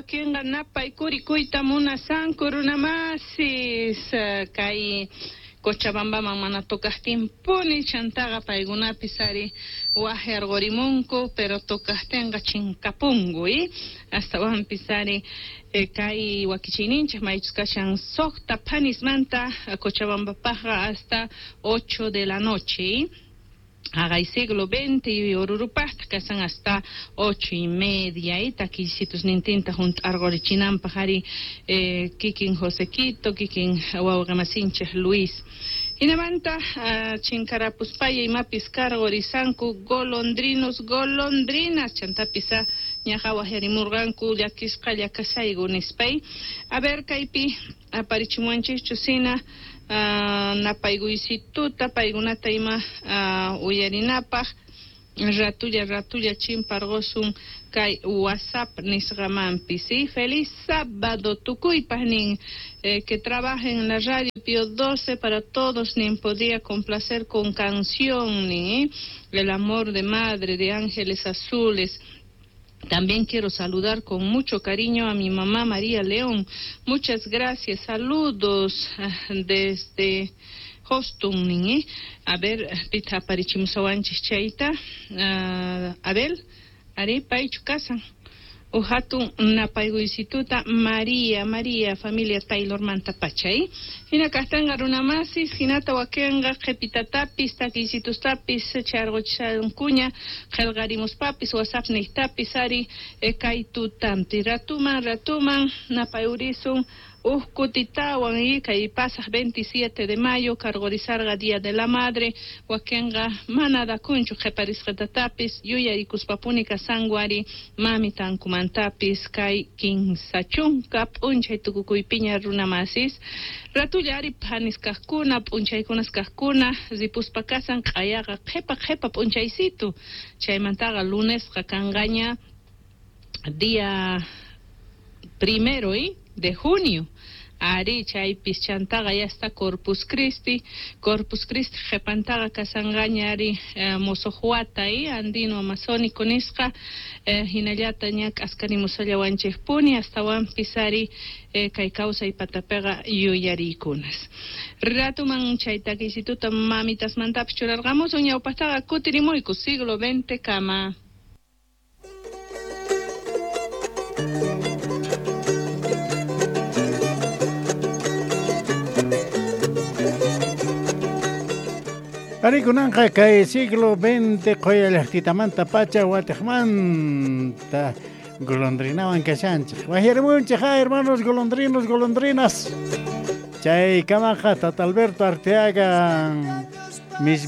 Wakinqa napaykurikuyta munasanku runamasis kay Cochabambaman mana tocajtinpuni chantaqa paykunapis ari wajyarqurimunku pero tocajtinqa chinkapunku astawanpis ari kay wakichiyninchik maychus kashan suqta phanismanta Cochabambapaqqa hasta 8 de la noche. Haqay siglo XX y Orurupaqta kasan hasta 8:30 takillsitus nintinta hunt'arqurichinanpaq ari kikin Josequito, kikin wawqamasinchik Luis. Hinamanta chinkarapuspaya imapis karqurisanku golondrinos, golondrinas, chantapis ñaqa waqyarimurqanku llakisqalla kashayku nispay. A ver kaypi aparichimuwanchikchu sina napaykuysituta paykunata ima uyarinapaq ratulla ratulla chimparqusun kay WhatsApp nisqamanpis. ¿Sí? Feliz sábado tukuypaq nin que trabajen en la radio Pío 12 para todos nin podría complacer con canción nin El amor de madre de Ángeles Azules. También quiero saludar con mucho cariño a mi mamá María León. Muchas gracias. Saludos desde Houston. ¿Eh? A ver, pita aparichimusawanchis chayta. Abel, ari paychu kasan. Uhatun napaykuysituta María, María, familia Taylor mantapachay. Hina kaqtanqa runamasis, hinata wakinqa qhipitatapis, takiysitustapis, charquchankuña, qillqarimuspapis, WhatsApp niqtapis, ari kay tutampi. Ratuman, ratuman, napayurisun, uj kutitawan y kay pasaq 27 de mayo, karqurisarqa Día de la Madre, wakinqa mana dakunchu qhiparisqatatapis, yuyarikuspapuni kasanku ari mamitankumantapis kay 30 p'unchay tukukuypiña runamasis. Ratulla ari phanis kaqkuna, p'unchaykunas kaqkuna, ripuspa kasan q'ayaqa qhipa qhipa p'unchaysitu. Chaymantaqa lunesqa kanqaña día primero de junio. Ari chaypis chantaqa ya está Corpus Christi, Corpus Christi qhipantaqa kasanqaña ari mosojuata andino amazónico nisqa hinallata ña k'askarimusallawanchikpuni astawanpis ari kay kawsay patapiqa yuyariykunas. Ratuman chay takiysituta mamitasmantapis churarqamusun ñawpaqtaqa kutirimuyku siglo XX kama. Arikunanqa kay siglo XX qoya llaqtitamanta pacha watiqmanta golondrinawan kashanchik. Wajyarimunchik, hermanos golondrinos, golondrinas. Chay kamaqa Tata Alberto Arteaga mis